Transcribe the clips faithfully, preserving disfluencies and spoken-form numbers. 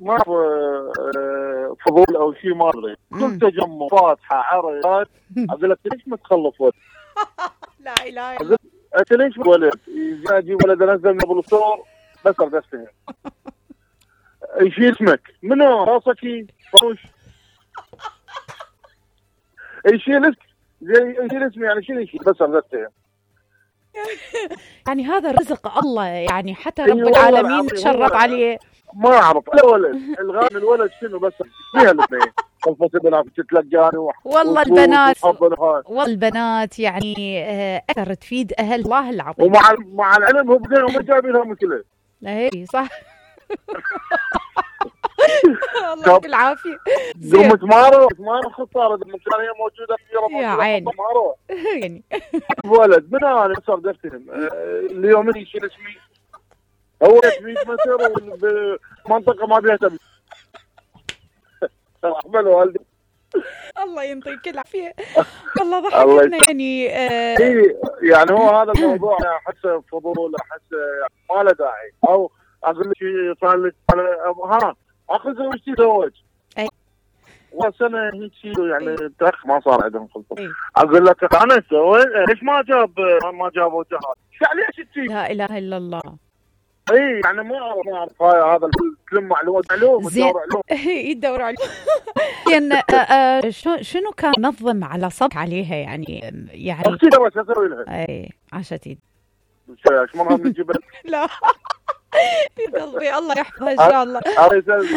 ما آه، فضول او شيء ما ادري، كل تجمع فاتحه عرض اقول لك ليش ما تخلف ولد؟ لا اله الا انت ليش ولد؟ اجيب ولد انزل قبل الصور بس ارقصتهم. يشيل اسمك منو راسك فروش؟ يشيل اسمك زي يشيل اسمي يعني شيل يشيل بس ارقصتهم. يعني هذا رزق الله، يعني حتى رب العالمين تشرف عليه. ما اعرف الولد الغالي الولد شنو بس فيها الاثنين الفصل تتلقاني والله البنات والله البنات يعني اكثر تفيد اهل الله العظيم. ومع مع العلم هم هم جايبين لهم مشكله. لا هي صح. الله يعطيك العافيه. قوم تمارو تمارو خطاره المكانيه موجوده في يا عيني يعني ولد من انا صار دفتهم اليوم يشيل اسمي هو مية متر بمنطقه ما بيها تبي. احمل والدي الله يعطيك العافيه. والله ضحكتنا يعني آه يعني هو هذا الموضوع احس فضول، احس ما له داعي. او اقول لك صار لك ها اخذ زوجتي تزوج وسنه هيك شيء يعني تخ ما صار عندهم خلطه. اقول لك انا سوي ليش ما جاب ما جابوا جهاز؟ ليش تجي؟ لا اله الا الله. اي يعني ما اعرف ما اعرف هذا كل معلومات معلومه يدور عليهم يدور عليهم. يعني شنو كان نظم على صبح عليها يعني يعني اختي لو اسوي لها اي عشتي ايش مره بنجيب لا يا قلبي الله يحفظها ان شاء الله.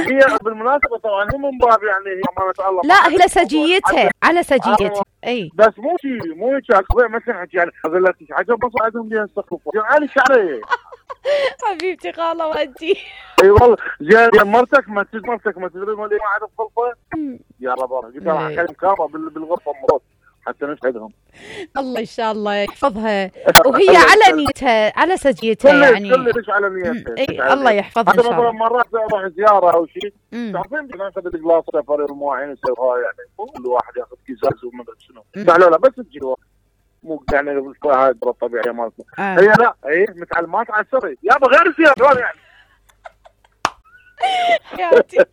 هي بالمناسبه طبعا مو من باب يعني هي امانه الله لا هي سجيتها على سجيتها اي بس مو شيء مو شيء اخوي مثلا يعني اقول لك عجب بس عندهم بيها استخلفوا يعني شعريه حبيبتي خاله وانتي اي والله زين مرتك ما تدري مرتك ما تدري ما اعرف خلفه يا رب قلت لها اكلم كاميرا بالغرفه مرات حتى نسعدهم. الله ان شاء الله يحفظها وهي على نيتها على سجيتها يعني كل على نيتها. اي الله يحفظها ان شاء الله. مرات اروح زياره او شيء تعرفين ناخذ الجلاس سفر المواعين نسويها يعني كل واحد ياخذ كيساز وما ادري شنو. لا لا بس تجي مو يعني هاي الطبيعيه مالتنا. هي لا هي متعلمات على السري يابا غير زياره يعني. تحياتي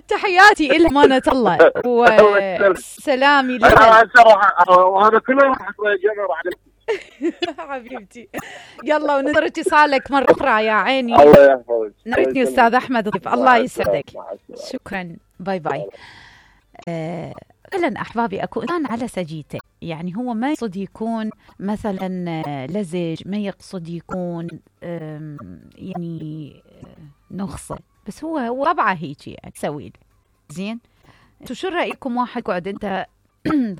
تحياتي إلى أمانة الله وسلامي لك. وهذا كله راح حبيبتي. يلا وننتظر اتصالك مرة أخرى يا عيني. الله يحفظك. نريتني أستاذ أحمد ضيف الله يسعدك. شكرا باي باي. فعلا أحبابي أكو إنسان على سجيته يعني هو ما يقصد يكون مثلا لزج ما يقصد يكون يعني نخصه بس هو هو طبعه هيك يعني تسوي زين. انتو شو رايكم واحد قعد انت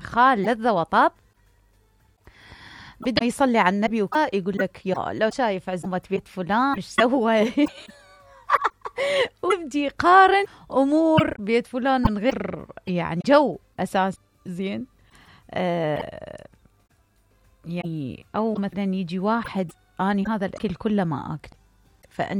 خال لذة وطاب بده يصلي على النبي ويقول لك يا لو شايف عزومة بيت فلان ايش سوى وبدي يقارن امور بيت فلان من غير يعني جو اساس زين. آه يعني او مثلا يجي واحد اني هذا الاكل كله ما اكل فانت